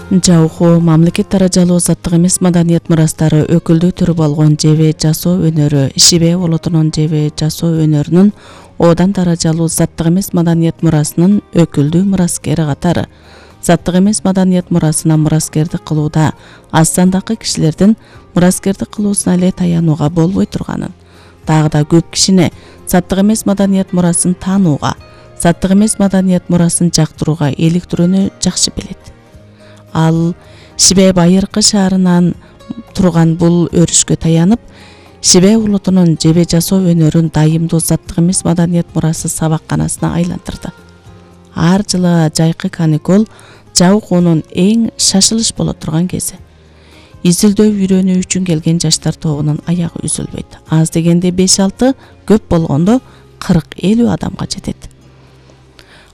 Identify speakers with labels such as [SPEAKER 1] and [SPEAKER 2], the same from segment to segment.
[SPEAKER 1] Жауху мамлекет даражалуу заттык эмес маданият мурастары өкүлдүү түрү болгон жебе жасоо өнөрү Ишибе болотунун жебе жасоо өнөрүнүн Одан даражалуу заттык эмес маданият мурасынын өкүлдүү мураскери катары заттык эмес маданият мурасына мураскердик кылууда аз сандагы кишилердин мураскердик кылуусуна эле таянууга болбой турганын, дагы да көп кишини заттык эмес маданият мурасын таанууга, заттык эмес маданият мурасын жактырууга иликтирүүнү жакшы билет. Ал Шибе Байыркы шаарынан турган бул өрүшкө таянып, Шибе улутунун жебе жасоо өнөрүн дайымдуу заттык эмес маданият мурасы сабакканасына айлантырды. Ар жылы жайкы каникул Жаухунун эң шашылыш боло турган кези. Изилдөө үйрөнүү үчүн келген жаштар тобунун аягы үзүлбөйт. Аз дегенде 5-6, көп болгондо 40-50 адамга жетет.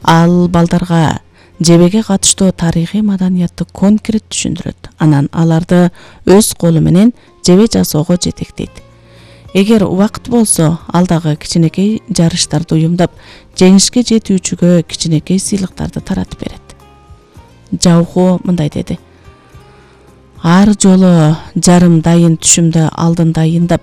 [SPEAKER 1] Ал балдарга жебеге катыштуу тарыхый маданиятты конкрет түшүндүрөт. Анан аларды өз колу менен жебе жасоого жетектейт. Эгер убакыт болсо, ал дагы кичинекей жарыштарды уюмдап, жеңишке жетүүчүгө кичинекей сыйлыктарды таратып берет. Жауху мындай деди: ар жолу жарым дайын түшүмдө алдын дайындап,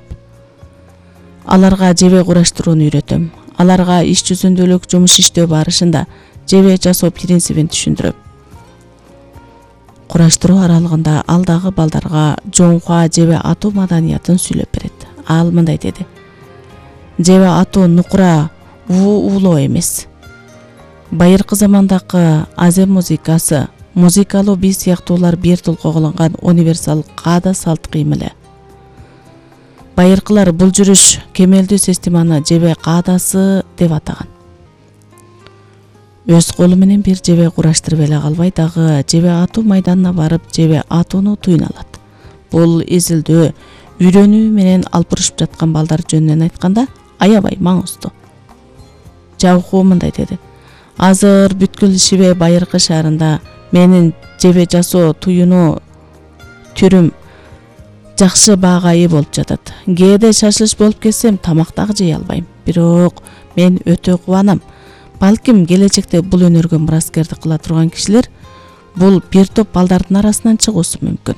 [SPEAKER 1] аларга жебе кураштырууну үйрөтөм. Аларга иш жүзүндөлүк жумуш иштөө барышында жебе жасоо принцибин түшүндүрөм. Кураштыруу аралыгында ал дагы балдарга жоңхуа жебе атуу маданиятын сүйлөп берет. Ал мындай деди: жебе атуу нукура уулоо эмес. Байыркы замандагы азем музыкасы, музыкалуу бий сыяктуулар бир толго кылынган универсал каада салт кыйым эле. Байыркылар бул жүрүш кемелдүү системаны жебе каадасы деп атаган. Өз колу менен бир жебе кураштырып эле калбай, дагы жебе атуу майданына барып жебе атууну туюна алат. Бул изилдөө, үйрөнүү менен алпырышып жаткан балдар жөнүнөн айтканда аябай маңыздуу. Жауху мындай деди: азыр бүткүл Шибе Байыркы шаарында менин жебе жасоо туюну түрүм жакшы баага ээ болуп жатат. Кээде шашылыш болуп кетсем тамак дагы жей албайм. Бирок мен өтө кубанам. Балким келечекте бул өнөргө мураскердик кыла турган кишилер бул бир топ балдардын арасынан чыгуусу мүмкүн.